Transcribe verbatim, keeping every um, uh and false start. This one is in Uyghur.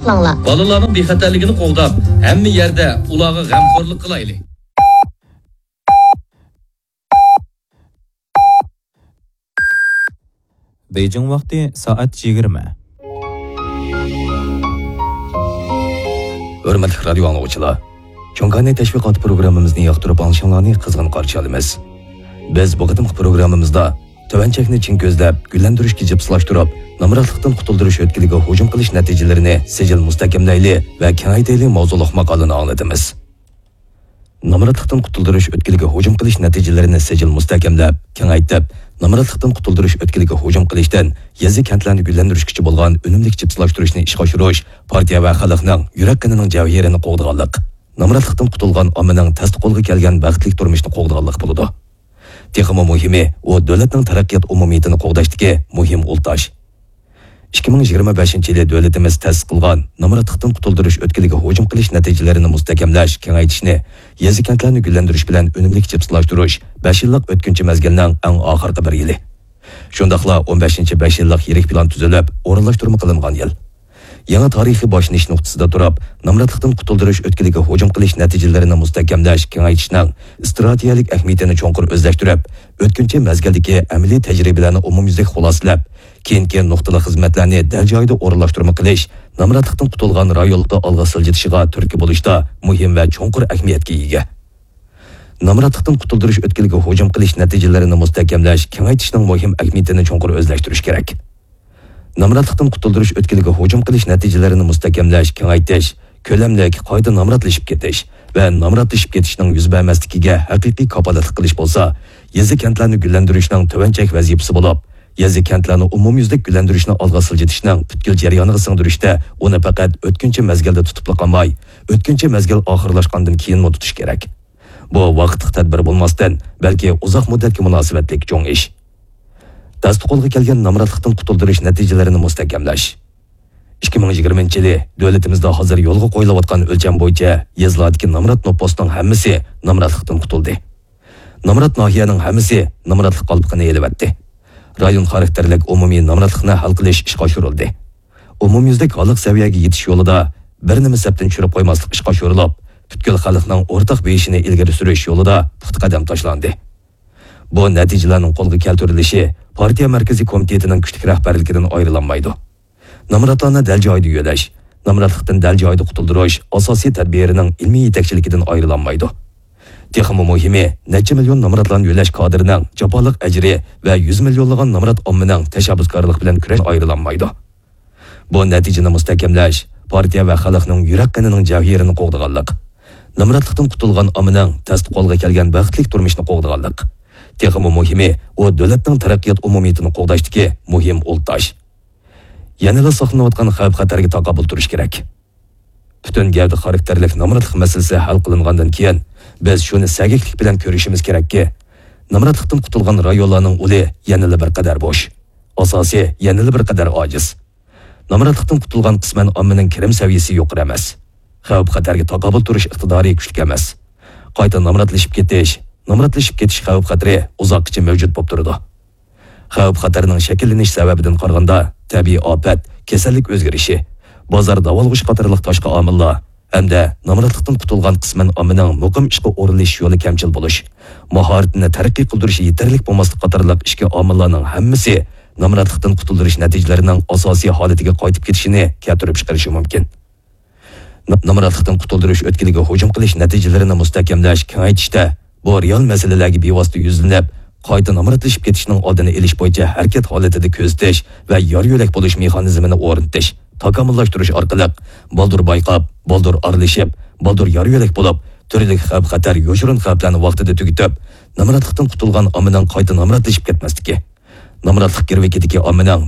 قىلىڭلار. بالىلارنىڭ بىخەتەرلىكىنى قوغداپ، ھەممە يەردە ئۇلارغا غەمخورلۇق قىلايلى. بېيجىڭ ۋاقتى سائەت يىگىرمە. ھۆرمەتلىك رادىيو ئاڭلىغۇچىلار، چوڭ كاناي تەشۋىقات پروگراممىمىزنى ياقتۇرۇپ ئاڭلىشىڭلارنى قىزغىن قارشى ئالىمىز. بىز بۇ قېتىمقى پروگراممىمىزدا تۆۋەن چەكنى چىڭ كۆزلەپ، گۈللەندۈرۈشكە جىپسىلاشتۇرۇپ، نامراتلىقتىن قۇتۇلدۇرۇش ئۆتكىلىگە ھۇجۇم قىلىش نەتىجىلىرىنى سىجىل مۇستەھكەملەيلى ۋە كېڭەيتەيلى ماۋزۇلۇق ماقالىنى ئاڭلىتىمىز. نامراتلىقتىن قۇتۇلدۇرۇش ئۆتكىلىگە ھۇجۇم قىلىش نەتىجىلىرىنى سىجىل مۇستەھكەملەپ، كېڭەيتىپ، نامراتلىقتىن قۇتۇلدۇرۇش ئۆتكىلىگە ھۇجۇم قىلىشتىن يېزا-كەنتلەرنى گۈللەندۈرۈشكىچە بولغان ئۈنۈملۈك جىپسىلاشتۇرۇشنى ئىشقا ئاشۇرۇش پارتىيە ۋە خەلقنىڭ يۈرەك قېنىنىڭ جەۋھىرىنى قوغدىغانلىق، نامراتلىقتىن قۇتۇلغان ئاممىنىڭ تەستە قولغا كەلگەن بەختلىك تۇرمۇشنى قوغدىغانلىق بولىدۇ. تېخىمۇ مۇھىمى، ئۇ دۆلەتنىڭ تەرەققىيات ئومۇمىيىتىنى قوغداشتىكى مۇھىم ئۇل تاش. ئىككى مىڭ يىگىرمە بەشىنچى يىلى دۆلىتىمىز تەسىس قىلغان نامراتلىقتىن قۇتۇلدۇرۇش ئۆتكىلىگە ھۇجۇم قىلىش نەتىجىلىرىنى مۇستەھكەملەش، كېڭەيتىشنى، يېزا-كەنتلەرنى گۈللەندۈرۈش بىلەن ئۈنۈملۈك جىپسىلاشتۇرۇش بەش يىللىق ئۆتكۈنچى مەزگىلنىڭ ئەڭ ئاخىرقى بىر يىلى. شۇنداقلا ئون بەشىنچى بەش يىللىق يىرىك پىلان تۈزۈلۈپ، ئورۇنلاشتۇرما قىلىنغان يىل. يېڭى تارىخىي باشلىنىش نۇقتىسىدا تۇرۇپ، نامراتلىقتىن قۇتۇلدۇرۇش ئۆتكىلىگە ھۇجۇم قىلىش نەتىجىلىرىنى مۇستەھكەملەش، كېڭەيتىشنىڭ ئىستراتېگىيەلىك ئەھمىيىتىنى چوڭقۇر ئۆزلەشتۈرۈپ، ئۆتكۈنچى مەزگىلدىكى ئەمەلىي تەجرىبىلەرنى ئومۇميۈزلۈك خۇلاسىلەپ، كېيىنكى نۇقتىلىق خىزمەتلەرنى دەل جايىدا ئورۇنلاشتۇرما قىلىش، نامراتلىقتىن قۇتۇلغان رايونلاردا ئالغا سىلجىتىشىغا تۈرتكە بولۇشتا مۇھىم ۋە چوڭقۇر ئەھمىيەتكە ئىگە. نامراتلىقتىن قۇتۇلدۇرۇش ئۆتكىلىگە ھۇجۇم قىلىش نەتىجىلىرىنى مۇستەھكەملەش، كېڭەيتىشنىڭ مۇھىم ئەھمىيىتىنى چوڭقۇر ئۆزلەشتۈرۈش كېرەك. نامراتلىقتىن قۇتۇلدۇرۇش ئۆتكىلىگە ھۇجۇم قىلىش نەتىجىلىرىنى مۇستەھكەملەش، كېڭەيتىش، كۆلەملىك، قايتا نامراتلىشىپ كېتىش ۋە نامراتلىشىپ كېتىشنىڭ يۈز بەرمەسلىكىگە ھەقىقىي كاپالەتلىك قىلىش بولسا، يېزا-كەنتلەرنى گۈللەندۈرۈشنىڭ تۆۋەن چەك ۋەزىپىسى بولۇپ، يېزا-كەنتلەرنى ئومۇميۈزلۈك گۈللەندۈرۈشنى ئالغا سىلجىتىشنىڭ پۈتكۈل جەريانىغا سىڭدۈرۈشتە ئۇنى پەقەت ئۆتكۈنچى مەزگىلدە تۇتۇپلا قالماي، ئۆتكۈنچى مەزگىل ئاخىرلاشقاندىن كېيىنمۇ تۇتۇش كېرەك. بۇ ۋاقىتلىق تەدبىر بولماستىن، بەلكى ئۇزاق مۇددەتكە مۇناسىۋەتلىك چوڭ ئىش. تەستە قولغا كەلگەن نامراتلىقتىن قۇتۇلدۇرۇش نەتىجىلىرىنى مۇستەھكەملەش. ئىككى مىڭ يىگىرمىنچى يىلى دۆلىتىمىزدە ھازىر يولغا قويۇلۇۋاتقان ئۆلچەم بويىچە يېزىلاردىكى نامرات نوپۇسنىڭ ھەممىسى نامراتلىقتىن قۇتۇلدى. نامرات ناھىيەنىڭ ھەممىسى نامراتلىق قالپىقىنى ئېلىۋەتتى. رايون خاراكتېرلىك ئومۇمىي نامراتلىقنى ھەل قىلىش ئىشقا ئاشۇرۇلدى. ئومۇميۈزلۈك ھاللىق سەۋىيەگە يېتىش يولىدا بىر نېمە سەپتىن چۈشۈرۈپ قويماسلىق ئىشقا ئاشۇرۇلۇپ، پۈتكۈل خەلقنىڭ ئورتاق بېيىشىنى ئىلگىرى سۈرۈش يولىدا پۇختا قەدەم تاشلاندى. بۇ نەتىجىلەرنىڭ قولغا كەلتۈرۈلۈشى پارتىيە مەركىزىي كومىتېتىنىڭ كۈچلۈك رەھبەرلىكىدىن ئايرىلالمايدۇ. نامراتلارنى دەل جايىدا يۆلەش، نامراتلىقتىن دەل جايىدا قۇتۇلدۇرۇش ئاساسىي تەدبىرىنىڭ ئىلمىي يېتەكچىلىكىدىن ئايرىلالمايدۇ. تېخىمۇ مۇھىمى، نەچچە مىليون نامراتلارنى يۆلەش كادىرىنىڭ جاپالىق ئەجرى ۋە يۈز مىليونلىغان نامرات ئاممىنىڭ تەشەببۇسكارلىق بىلەن كۈرەش ئايرىلالمايدۇ. بۇ نەتىجىنى مۇستەھكەملەش پارتىيە ۋە خەلقنىڭ يۈرەك قېنىنىڭ جەۋھىرىنى قوغدىغانلىق، نامراتلىقتىن قۇتۇلغان ئاممىنىڭ تەستە قولغا كەلگەن بەختلىك تۇرمۇشنى قوغدىغانلىق، تېخىمۇ مۇھىمى، ئۇ دۆلەتنىڭ تەرەققىيات ئومۇمىيىتىنى قوغداشتىكى مۇھىم ئۇل تاش. يەنىلا ساقلىنىۋاتقان خەۋپ-خەتەرگە تاقابىل تۇرۇش كېرەك. پۈتۈن گەۋدە خاراكتېرلىك نامراتلىق مەسىلىسى ھەل قىلىنغاندىن كېيىن، بىز شۇنى سەگەكلىك بىلەن كۆرۈشىمىز كېرەككى، نامراتلىقتىن قۇتۇلغان رايونلارنىڭ ئۇلى يەنىلا بىر قەدەر بوش، ئاساسى يەنىلا بىر قەدەر ئاجىز. نامراتلىقتىن قۇتۇلغان قىسمەن ئاممىنىڭ كىرىم سەۋىيىسى يۇقىرى ئەمەس. خەۋپ-خەتەرگە تاقابىل تۇرۇش ئىقتىدارى كۈچلۈك ئەمەس. قايتا نامراتلىشىپ كېتىش، نامراتلىشىپ كېتىش خەۋپ-خەتىرى ئۇزاققىچە مەۋجۇت بولۇپ تۇرىدۇ. خەۋپ-خەتەرنىڭ شەكىللىنىش سەۋەبىدىن قارىغاندا، تەبىئىي ئاپەت، كېسەللىك ئۆزگىرىشى، بازار داۋالغۇشى قاتارلىق تاشقى ئامىللار ھەمدە نامراتلىقتىن قۇتۇلغان قىسمەن ئاممىنىڭ مۇقىم ئىشقا ئورۇنلىشىش يولى كەمچىل بولۇش، ماھارىتىنى تەرەققىي قىلدۇرۇشى يېتەرلىك بولماسلىق قاتارلىق ئىچكى ئامىللارنىڭ ھەممىسى نامراتلىقتىن قۇتۇلدۇرۇش نەتىجىلىرىنىڭ ئاساسىي ھالىتىگە قايتىپ كېتىشىنى كەلتۈرۈپ چىقىرىشى مۇمكىن. نامراتلىقتىن قۇتۇلدۇرۇش ئۆتكىلىگە ھۇجۇم قىلىش نەتىجىلىرىنى مۇستەھكەملەش، كېڭەيتىشتە بۇ رېئال مەسىلىلەرگە بىۋاسىتە يۈزلىنىپ، قايتا نامراتلىشىپ كېتىشنىڭ ئالدىنى ئېلىش بويىچە ھەرىكەت ھالىتىدە كۆزىتىش ۋە يار يۆلەك بولۇش مېخانىزمىنى ئورنىتىش، تاكامۇللاشتۇرۇش ئارقىلىق بالدۇر بايقاپ، بالدۇر ئارىلىشىپ، بالدۇر يار يۆلەك بولۇپ، تۈرلۈك خەۋپ-خەتەر، يوشۇرۇن خەۋپلەرنى ۋاقتىدا تۈگىتىپ، نامراتلىقتىن قۇتۇلغان ئاممىنىڭ قايتا نامراتلىشىپ كەتمەسلىكى، نامراتلىق گىرۋىكىدىكى ئاممىنىڭ